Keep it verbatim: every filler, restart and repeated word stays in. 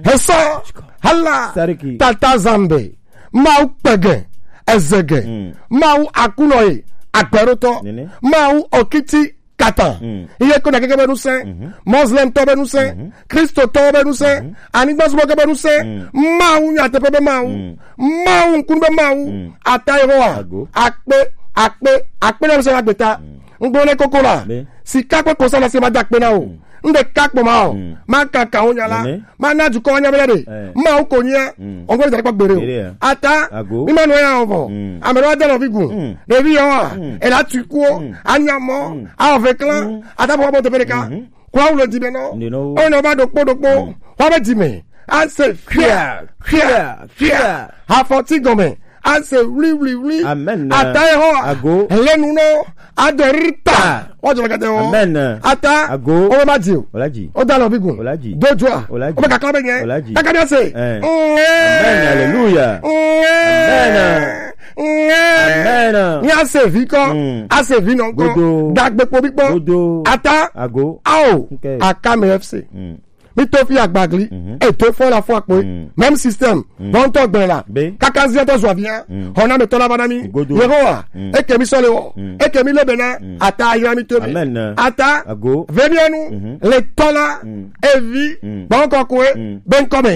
Hesɔ, hala, Sariki. Tata Zambe, Mawu kpege, ezege, Mm. Mawu akunɔ ye, agbɛɖotɔ, Nene. Mawu okiti kata. Mm. Iye ko na keke be nusẽ, Mhm. Muslim tɔ be nusẽ, Mhm. Kristo tɔ be nusẽ, Mhm. anigba zumɔ ke be nusẽ, Mm. Mawu nyateƒe be Mawu, Mm. Mawu ŋkunu be Mawu, Mm. ata Yehowa, Ago. akpe, akpe, akpe na be se na gbeta. Mm. Ŋgblɔ ne koko la, Be. Sika kple kɔsa na se ma da akpe na o. Mm. Ŋɖe ka kpɔ ma o. Mm. Ma kaka wo nya la. Nene. Ma na dukɔ wa nya be ɖe. Eh. Ma wo ko nya. Mm. Ɔngɔ le da kpɔ gbere o. Gbere ya. Ata. Ago. Mi ma nɔ ya o vɔ. Mm. Ame ɖe wa de nɔvi gun. Mm. Ɖevi yɔ wa. Mm. Ela tu kuo. Mm. Anya mɔ. Mm. Awɔ ve klan. Mm. Ata bɔ bɔ teƒe ɖeka. Mhm. Kura wo le di be nɔ. Ndi nɔ wo. O nɔ ba ɖokpo ɖokpo. Mm. Wa be di me. Anse fia. Fia. Fia. Fia. Afɔti gɔme. Anse wli wli wli. Amen. Ata ye hɔ. Ago. Lenu nɔ. Adorita. Ah. Wa jɔ kete wo. Amen. Ata. Ago. O ma di o. Olaji. O da lɔ bi gun. Olaji. Dojoa. Olaji. O be kakla be nye. Olaji. Kaka bi ase. Eh. Mm. Amen. Hallelujah. Mm. Amen. Mm. Amen. Ni ase vi kɔ. Mm. Ase vi nɔ kɔ. Godo. Dagbe kpo bi kpɔ. Godo. Ata. Ago. Ao. Okay. Akame F C. Mm. Mi to fi agbagli, Mhm. E to fɔ la fɔ akpo. Mm. Même système. Mm. Bon to gbe la. Be. Kaka zi to zo avia. Mm. Hona me to la bana mi. Godo. Yehowa. Mm. Eke mi sole wo. Mm. Eke mi lebena. Mm. Ata ya mi to mi. Amen. Ata. Ago. Vemianu. Mhm. Le tola. Mm. Evi. Mm. Bon ko kwe. Mm. Ben kome.